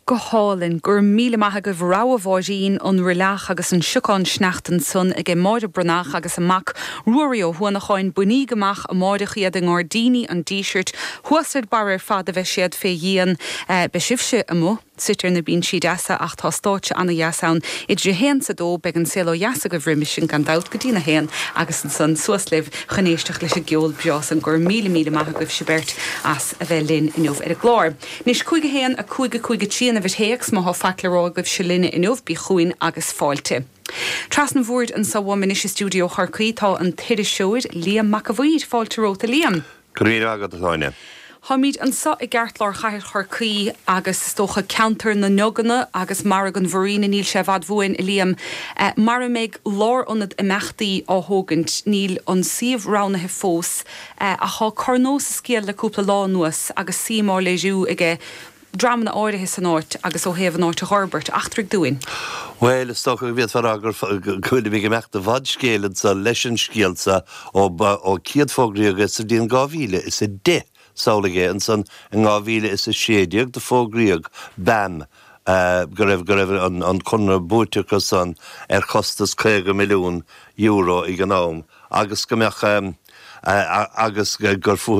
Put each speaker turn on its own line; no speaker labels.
Go hálainn. Go raibh míle maith agaibh. Rogha Mháirín, An Roilleach agus an Siocán Sneachta ansan aige Máire Breathnach agus a mac Ruairí Ó hUanacháin. Bainíg amach amáireach iad i nGairdíní an Dísirt. Thuas ar barr ar fad a bheidh siad fé dhíon. Beidh sibhse amuigh suite ar na binsí deasa ach tá stáitse ana-dheas ann. Idir a haon 's a dó beidh an Saol Ó Dheas agaibh roimis sin gan dabht go dtí'n a haon agus ansan suas libh chun éisteacht leis an gceol breá san. Go raibh míle míle maith agaibhse beirt as a bheith linn inniu ar an gclár. Anois, 5 1 5 5 3 an uimhir théacs, má thá faic le rá agaibhse linne inniu, bí chugainn agus fáilte. Trasna an bhoird anso uaim anois i stiúideo Chorcaí tá an t-iriseoir Liam Mac a' Mhaoir. Fáilte romhat a Liam.
Go raibh míle maith agat, a Shláine.
Táimid anso i gceartlár chathair Chorcaí agus is dócha ceantar na nDuganna agus Margadh an Mhuiríne, níl sé i bhfad uainn, a Liam, mar a mbeidh lárionad imeachtaí á thógaint. Níl an suíomh roghnaithe fós ach tá corr sa scéal le cúpla lá anuas agus suim á léiriú aige dreamanna áirithe san áit agus ó thaobh an áit a dh'fhorbairt. Eachtraigh dúinn.
Bhuel, is dócha go bhféadfá a rá go bhfuilimid ag imeacht i bhfad scéil anso leis an scéal seo ó céadfógraíodh é sa bhliain 2010. Samhlaigh é, ansan in 2016 do fógraíodh BAM go raibh go raibh an conradh buaite acu san ar chostas €50 milliún ag an am agus go mbeadh agus gur fúthu.